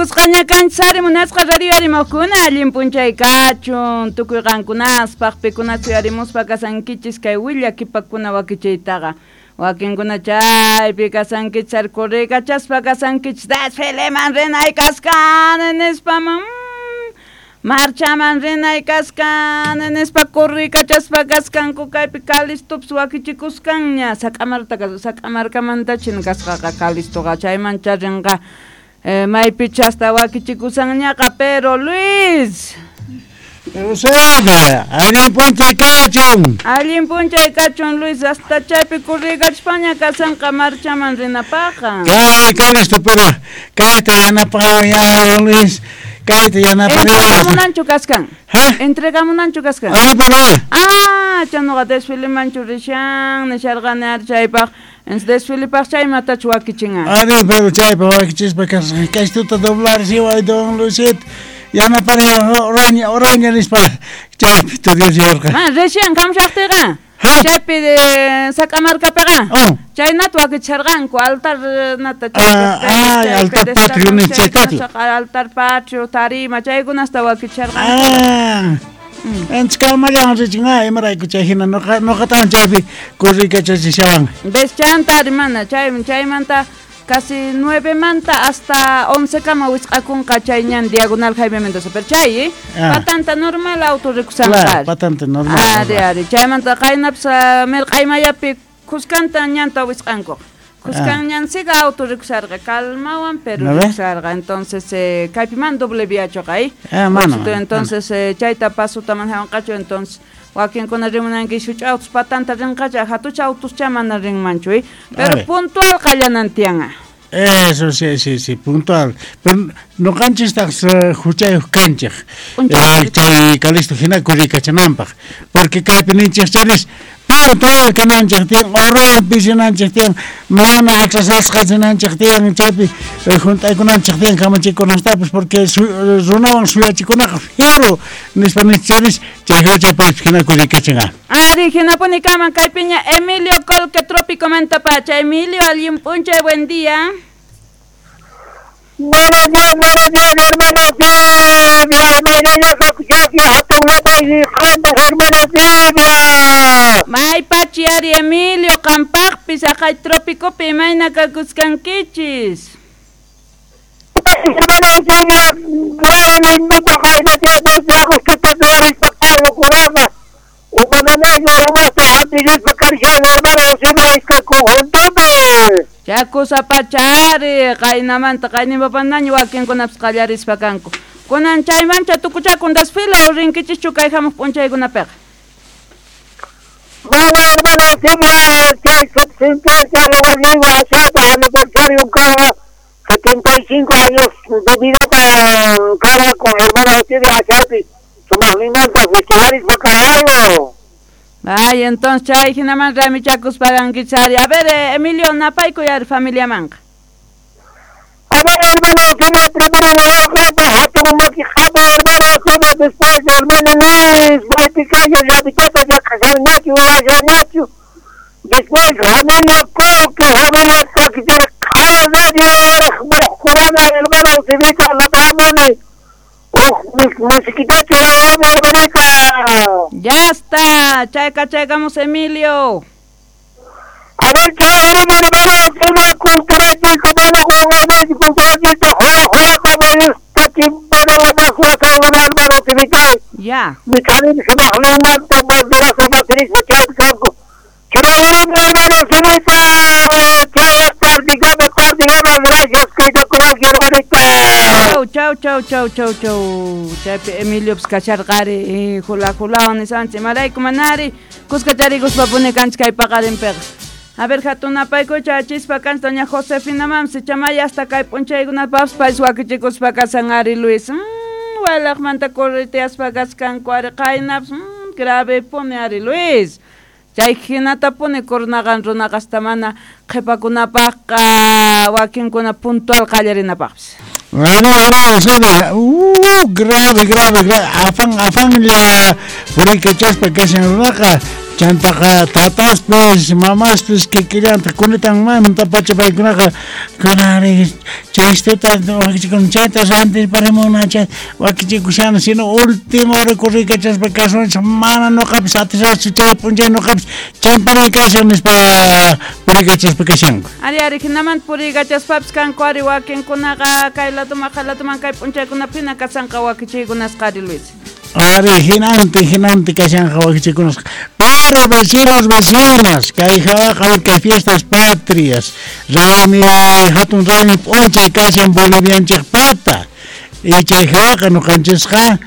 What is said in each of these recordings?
Kusqaña kanchis ari munasqa radio arimuqkuna allin p'unchay kachun tukuy qankunaspaq pikuna suyarimuspa kasankichis kay willakipakuna wakichiytaqa wakinkuna chaypi kasankichis ari correykachaspa kasankichis desfileman rinay kaskani nispa marchaman rinay kaskani nispa correykachaspa kaskanku kaypi Calistopis wakichikuskanña sak'amarkamantachin kasqaqa Calistoqa chaymancha rinqa maypicha hasta wakichikusanñaqa pero Luis Eusebia, allin p'unchay kachun. Allin p'unchay kachun Luis hasta chaypi correykachaspaña kasanqa marchaman rinapaqqa. Kay Calisto pero kayta yanapawan Luis kayta yanapariwan. Entregamunanchu kaskan. Ha? Entregamunanchu kaskan. Ay pero. Ah, chanuqa desfilemanchu rishan nisharqani ari chaypaq. Desfilepaq chaymatachu wakichinqa. Ari pero chaypaq wakichispa kasqa kaystuta doblar siway don Luisit yanapariwan oraña oraña nispa chaypi tudiasiyarqa. Ma rishan kamshaqtiqa. Chaypi sak'amarkapiqa. Chaynata wakicharqanku altar nata chaypi altar patrio nichaytatu. Altar patrio tarima chaykunasta wakicharqanku. Entonces kalmallan richin imarayku chay hina noqatan chaypi corriykachachishawan. Ves chanta hermana chaymanta casi 9 manta hasta 11 kama wisq'akunqa chay ñan diagonal Jaime Mendoza pero chay patanta normal auto rikusanqa. Claro, patanta normal. Ari ari chaymanta qaynapis mirq'aymayapi kuskanta ñanta wisq'anku. Kuskan ñansiga auto rikusarqa kalmawan pero rikusarqa entonces kaypiman doble viachoqa entonces chayta pasuta manhawanqachu entonces wakinkuna rimunanki shuch'a autos patanta rinqacha hatucha autos mana rinmanchu pero puntual qallanan tiyanqa. Eso sí, sí, sí, puntual. Pero noqanchistaq huchayuq kanchik. Chay Calisto hina kurikachananpaq. Porque kaypi ninchik charis puntual kananchik tiyan, horapi rinanchik tiyan, mana atrasasqa rinanchik tiyan, chaypi juntaykunanchik tiyan kamachikunastapis porque runawan suyachikunaqa fiero nispa ninchik charis chay huchaypaq hina kurikachinqa. Ari hinapuni kaman kaypiña Emilio Colque Trópico Mantapacha. Emilio, allin p'unchay, buen día. Buenos días, hermano Silvia. May pachi ari Emilio, qampaqpis aqay trópicopi imayna kakuskankichis. Hermano Silvia, Chakusapachari qaynamanta qaynimapanaña wakinkunapas qallarispa kanku. Kunan chaymancha tukuchakun desfile o rinkichischu kay hamuq p'unchaykunapiqa. Bueno, hermano Silvia, chay aniversario cada 75 años de vida cara con hermano Silvia Achapi, sumaqninmanta festivalis bacalao. Ay, entonces chay hinaman ramichakus pagankichari. A ver, Emilio, napaykuy ari familiamanqa. A ver, hermano, Silvia, primero hermano Silvia, después hermano Luis, Baiticayo, Yabitata, Yacañachu, Ayañachu, después familia Coque, familia Coque, hermano Silvita, la Pamone. Ya está, chayka chaykamos Emilio. A ver, Ya. Chau, chau, chau, chau, chau. Chaypi Emilio kacharqari hula hulawan nisanchik imarayku manari kuskacharikuspa puni kanchik kay paqarinpiqa. A ver, hatunapayku chachispa kanchik doña Josefina mamsi chamaya hasta kay p'unchaykunapapas paysi wakichikuspa kasan ari Luis. Walaqmanta correteaspa kaskanku ari qaynapas grave puni ari Luis. Chay hinata puni cornaqan runaqa hasta mana qhipakunapaqqa wakinkuna puntual qallarinapaqpis. Bueno, grave, grave, grave. Afán, afán la purikachaspa kashan runaqa. Chantaqa tataspis mamaspis kikillantaq kunitanmantapacha paykunaqa kunanri chaystata wakichikun chayta rantirparimuna chay wakichikushana sino última hora corriykachaspa kasunchik mana nuqapis atisaqchu chay p'unchay nuqapis chaypari kashan nispa puriykachaspa kashanku. Ari ari hinamanta puriykachaspapis kanku ari wakinkunaqa kay laduman kay laduman kay p'unchaykunapi hina kasanqa wakichiykunasqa ari Luis. Ari hinanti hinanti kashanqa wakichikunasqa. Pero vecinos, vecinas, kay hawaqa kay fiestas patrias, raymi hatun raymi p'unchay kashan Bolivianchikpata. Y chay hawaqa nuqanchisqa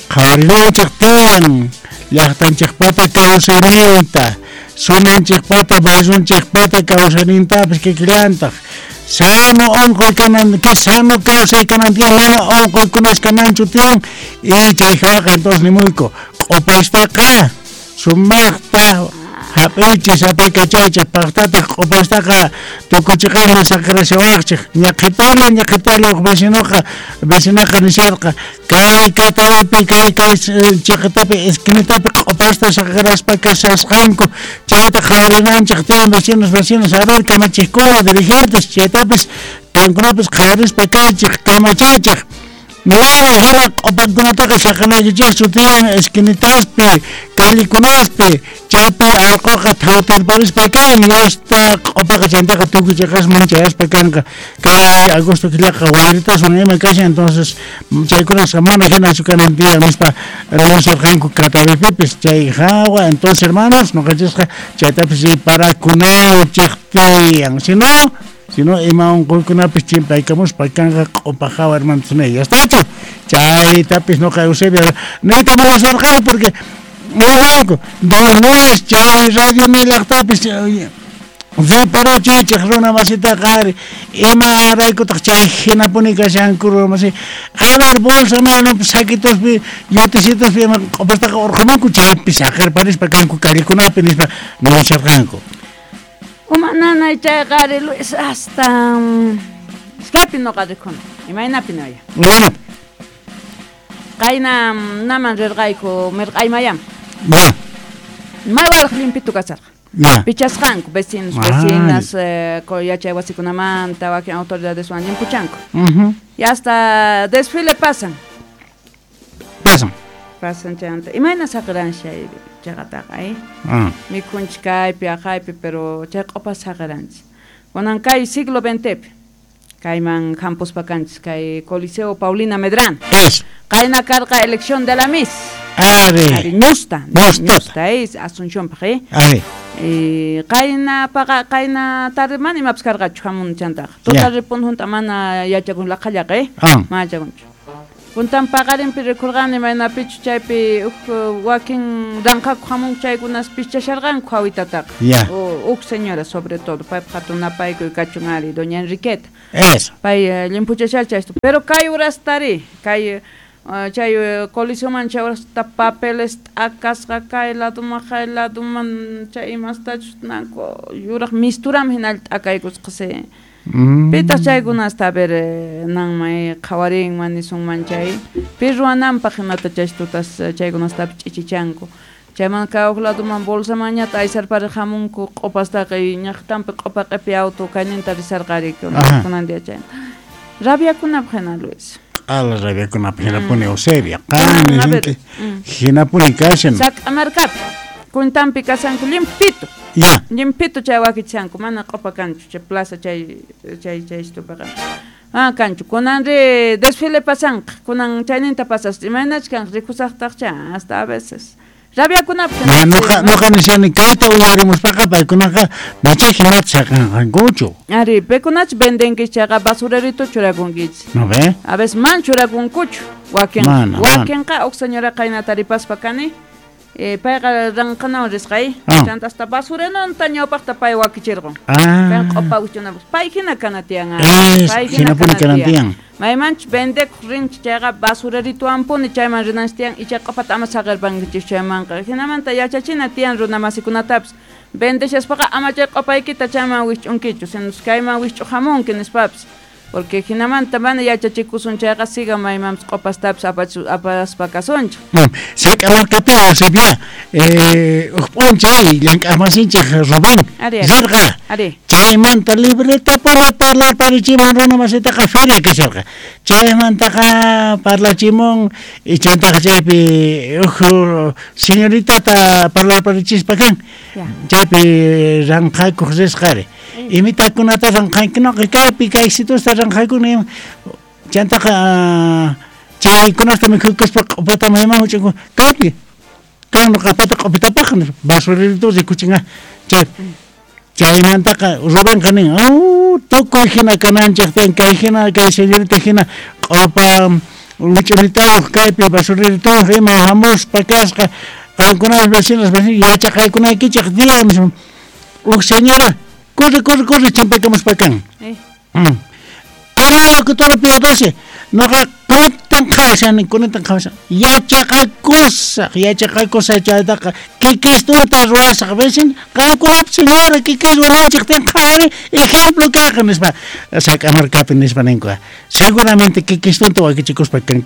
qhawarinanchik tiyan llaqtanchikpata kawsayninta, sunanchikpata barrionchikpata kawsaynintapis kikillantaq. Sano unquy kanan, que sano kawsay kanan tiyan, mana unquykunas kananchu tiyan. Y chay hawaqa entonces nimuyku q'upastaqa sumaqta hap'ichis apaykachaychik paqtataq q'upastaqa tukuchiqanman saqirashawaqchik ñaqhipala ñaqhipala huk vecinoqa vecinaqa nisharqa kay katapi kay kay chiqitapi esquinitapi q'upasta saqiraspa kashasqanku chayta qhawarinanchik tiyan vecinos vecinas a ver kamachiqkuna dirigentes chaytapis qankunapis qhawarispa kaychik kamachaychik. Mana hina q'upankunataqa saqinaykichikchu tiyan esquinitaspi callekunaspi chaypi allquqa thawtirparispa kan yasta q'upaqa chantaqa tukuy chiqasman chayaspa kanqa kay agosto killaqa wayritaswan ima kashan entonces chaykunasqa mana hinachu kanan tiyan nispa nisharqanku Catavipipis chay hawa entonces hermanos nuqanchisqa chaytapis riparakunanchik tiyan sino ima unquykunapis chimpaykamuspa kanqa q'upa hawa hermanos ya estachu chaytapis nuqa Eusebio niyta munasharqani porque niwanku Luis chay radio nillaqtapis riparachiychik runa masitaqa ari imaraykutaq chay hinapuni kashanku runa masi a ver bolsa mayninpi saquitospi yutisituspi ima q'upastaqa urqamunku chaypi saqirparispa kanku callekunapi nispa nisharqanku. Uma nanay chayqa ari Luis hasta iskaypi nuqa rikhuni imaynapi noya. Bueno. Qayna naman rirqayku mirq'aymayaman. Bueno. May waraq limpitu kasarqa. Pichasqanku vecinos, vecinas, yachay wasikunamanta wakin autoridadeswan limpuchanku. Y hasta desfile pasan. Pasan. Pasan chayanta. Imayna saqiran chay chaqataqa, Mikhunchik kaypi, aqaypi, pero chay q'upa saqiranchik. Kunan kay siglo XXpi kayman hampuspa kanchis kay Coliseo Paulina Medrano. Es. Qayna karqa elección de la Miss. Ari. Ari ñusta. Ñusta es Asunciónpaq, Ari. Qayna paqa qayna tarde mana imapis karqachu hamun chantaqa. Tuta ripun junta mana yachakun laqhallaqa, Mana yachakunchu. Puntan paqarinpi rikurqani maynapichu chaypi huk wakin ranqaku hamun chaykunas pichasharqanku hawitataqa. Huk señora sobre todo paypa hatun napaykuy kachun ari doña Enriqueta. Eso. Pay limpuchashar chaysto. Pero kay urastari kay chay coliseoman chay urasta papeles t'akasqa kay laduman kay laduman chay imastachus nanku yuraq misturam hinalla t'akaykusqa se. Pitaq chaykunasta a ver nanmay qhawarinman nisunman chay pi ruwananpaq imata chaystutas chaykunastapis ch'ichichanku chayman kay huk laduman bolsamanñata aysarpariq hamunku q'upastaqa ñaqtanpi q'upa q'ipi auto kayninta risarqari kunan día chay rabiakunapaq hina Luis. Q'ala rabiakunapaq hinapuni Eusebia qan hinapuni kashan Sac'amarkapi kuntanpi kashanku limpito. Ya. Limpito chay wakichanku mana q'upa kanchu chay plaza chay chay chay estupaqa. Ah kanchu kunanri desfile pasanqa kunan chayninta pasas imaynach kanqa rikusaqtaqcha hasta a veces rabiakunapaq. Nuqa nishani kayta uyarimuspaqa paykunaqa macha hinata saqanqankuchu. Ari paykunach vendenkichik chayqa basurerito churakunkichik. ¿No ve? A veces man churakunkuchu wakin wakinqa huk señora qayna taripaspa kani. Payqa ranqanawan risqay chanta hasta basurenonta ñawpaqta pay wakichirqun. Pay q'upa wichunapaq pay hina kana tiyan pay hina kana tiyan maymanchus vendekuq rinchik chayqa basurerituwanpuni chayman rinanchik tiyan icha q'upata ama saqirpankichik chaymanqa hinamanta yachachina tiyan runa masikunatapis vendeshaspaqa ama chay q'upaykita chayman wikch'unkichu sino kayman wikch'uq hamunki nispapis. Porque hinamanta mana yachachikusun chayqa siga maymanpis q'upastapis apaspa kasunchik. Sak'amarkapi Eusebia, uj p'unchay llank'aqmasinchik Rubén rirqa. Chaymanta libretapuni parlarparichimun runa masitaqa feria kasharqa. Chaymantaqa parlachimun y chantaqa chaypi uj señoritata parlarparichispa kan. Chaypi ranqakuq risqari. Imitakunata ranqankunaqa kaypi kay situsta ranqaykuna chantaqa chaykunasta mikhuykuspa q'upata mayman huch'unku kaypi kan nuqapata q'upitapaq basurerito rikuchinqa chay chaymantaqa Rubenqa nin tukuy hina kananchik tiyan kay hina kay señorita hina q'upa wich'uritayuq kaypi basureritoyuq ima hamuspa kasqa qankunapas vecinos yachaqaykunaykichik tiyan uj señora corre, corre, corre, chimpakamuspa kan. Ala locutora Piadosi, noqa kunan qhawashani, kunan qhawashan. Yachaqakusaq, yachaqakusaq chaytaqa kikistunta ruwasaq, vecino, qankunapis señora kikis ruwananchik tiyan qhawari ejemplo kayqa nispa Sak'amarkapi nispa ninku. Seguramente kikistunta wakichikuspa kan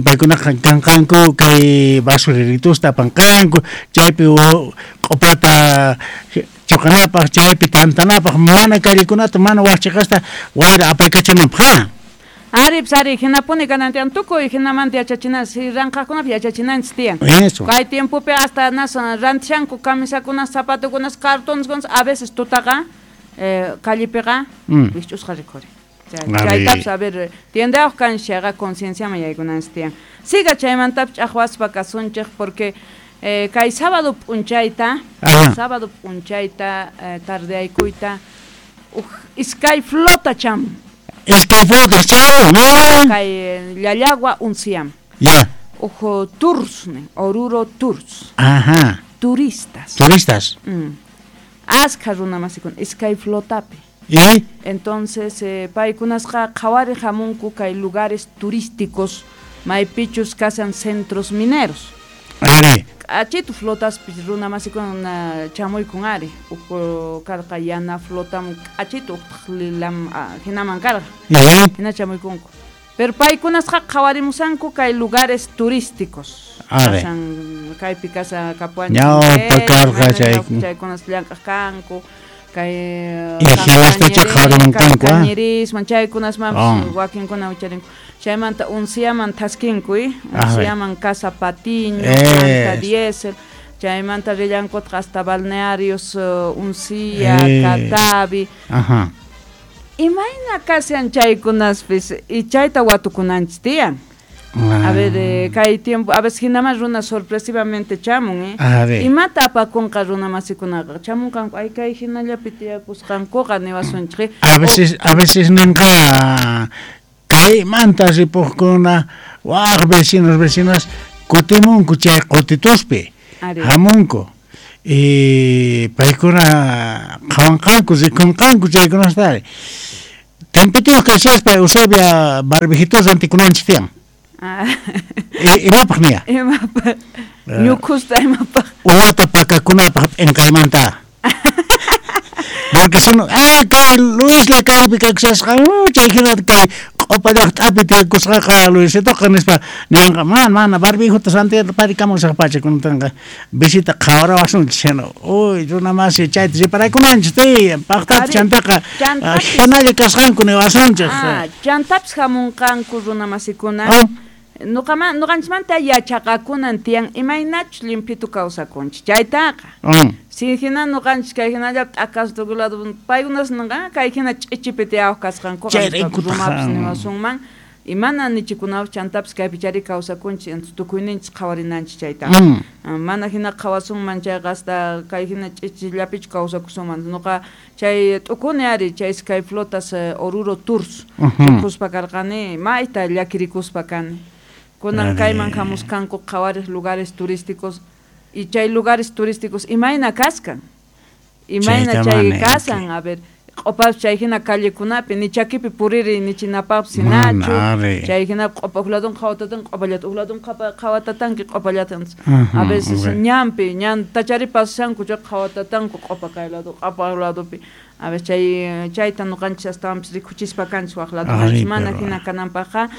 paykunaqa kanqanku kay basureritusta apanqanku, chaypi q'upata choqanapaq, chaypi tantanapaq, mana callekunata, mana waqchiqasta wayra apaykachananpaq. Ari, ari, hinapuni kanan tiyan tukuy hinamanta yachachinanchik, ranqaqkunapi yachachinanchik tiyan. Kay tiempopi hasta nas rantishanku camisakunas, zapatokunas, cartoneskunas, a veces tutaqa callepiqa wikch'usqa rikhuri. Chaytapas a ver, tiendayuq kanchik chayqa concienciaman yaykunanchik tiyan. Siga chaymantapis ch'aqwaspa kasunchik porque kay sábado p'unchayta, tardeaykuyta uj iskay flota chamun. Iskay flota chamun. Kay Llallagua unsiyam. Ya. Uj tours, Oruro Tours. Ajá. Turistas. Turistas. Askha runa masikuna iskay flotapi. ¿Y? Entonces, paykunasqa qhawari hamunku kay lugares turísticos maypichus kasan centros mineros. Ari. K'achitu flotaspis runa masikuna chamuykun ari. Uj karqa yana flotam k'achitu uqtaq lilam hinaman karqa. Hina chamuykunku. Pero paykunasqa qhawarimusanku kay lugares turísticos. Kasan kaypi kasa kapuanchik. Ñawpa karqa chaykunas llank'aq kanku. Kay Cañerisman chaykunasmanpis wakinkuna wicharinku. Chaymanta unciaman thaskinku, unciaman Casa Patiño, Planta Diesel, chaymanta rillankutaq hasta balnearios Uncia, Catavi. Ajá. Imayna kashan chaykunaspis y chayta watukunanchik tiyan. A ver, kay tiempo, a veces hinaman runa sorpresivamente chamun, Imata apakunqa runa masikunaqa chamunqanku ay kay hinallapi tiyakusqankuqa niwasunchik. A veces ninqa kaymanta ripuqkuna waq vecinos vecinas kutimunku chay qutituspi hamunku y paykuna qhawanqanku rikunqanku chaykunasta tiempituyuq kashaspa Eusebia barbijitos rantikunanchik tiyan. Imapaq niya? Imapaq? Ñuqhusta imapaq? Uwata pakakunapaq p'inqaymanta. Porque son, kay Luisla kaypi kakusasqa, chay hinata kay q'upa llaqtapi tiyakusqaqa Luisitoqa nispa ninqa, mana barbijuta Santiago parikamusaq pachakunatanqa visita qhawarawasunchik hina, uy runa masi chayta riparaykunanchik tiyan, paqtata chantaqa hinalla kasqanku niwasunchik. Chantapis hamunqanku runa masikuna. Nuqanchikmanta yachaqakunan tiyan imaynachus limpitu kawsakunchik chaytaqa. Si hina nuqanchik kay hinallapi t'akas tukuy lado paykunas ninqa kay hina ch'ichipi tiyawaq kasqankuqa rumapis niwasunman y mana nichikunapis chantapis kaypi chari kawsakunchik entonces tukuyninchik qhawarinanchik chaytaqa. Mana hina qhawasunman chayqa hasta kay hina ch'ichillapichu kawsakusunman. Nuqa chay t'ukuni ari chay iskay flotas Oruro Tours rikuspa karqani mayta llakirikuspa kani. Kunan kayman hamusqanku qhawariq lugares turísticos y chay lugares turísticos imayna kaskan, imayna chay kasan, a ver, q'upapis chay hina callekunapi ni chakipi puriri ni chinapapis hinachu, chay hina q'upa huk ladun qhawatatan q'upallata huk ladun qhawatatanki q'upallata. A veces ñanpi ñantachari pasashanku chay qhawatatanku q'upa kay lado q'upa ladopi. A ver, chay chayta ñuqanchis astawanpis rikuchispa kanchis waq ladomanchis mana hina kananpaqqa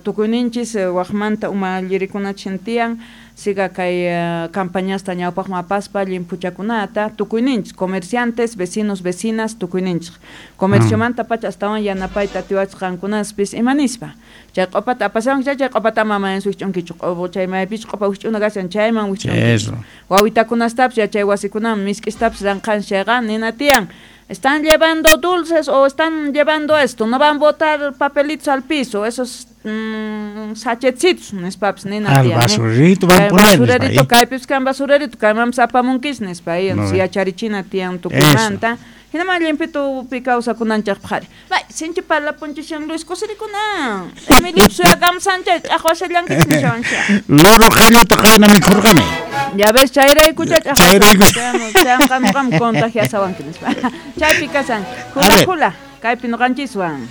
tukuyninchis waqmanta umallirikunachin tiyan siga kay campañasta ñawpaqman apaspa llimphuchakunata tukuyninchis comerciantes, vecinos, vecinas tukuyninchis comerciomanta pacha astawan yanapayta atiwachis qankunaspis ima nispa chay q'upata apashawanki chay q'upata ama wijch'unkichu chay maypichus q'upa wijch'una kashan chayman wijch'unkichu wawitakunastapis yachay wasikunaman misk'istapis ranqanchis chayqa nina tiyan están llevando dulces o están llevando esto, no van a botar papelitos al piso, esos sachetcitos nispapis nina tiyan. Basurerito van a poner. Basurerito, kaypis kan basurerito, kaymanpis apamunkis nispa, yacharichina tiyan tukuymanta. Hinaman llimpitupi kawsakunanchikpaq qhari. Bay, sinchi parlapunchishan Luis kusirikuna. Emilio suyakamusanchay ch'aqwashallankichis nishawancha. Loro qallata qayna mikhurqani. Ya ves, chayraykucha ch'aqwashan. Qam contagiasawanki nispa. Chaypi kasan. Hula hula, kaypi ñuqanchiswan.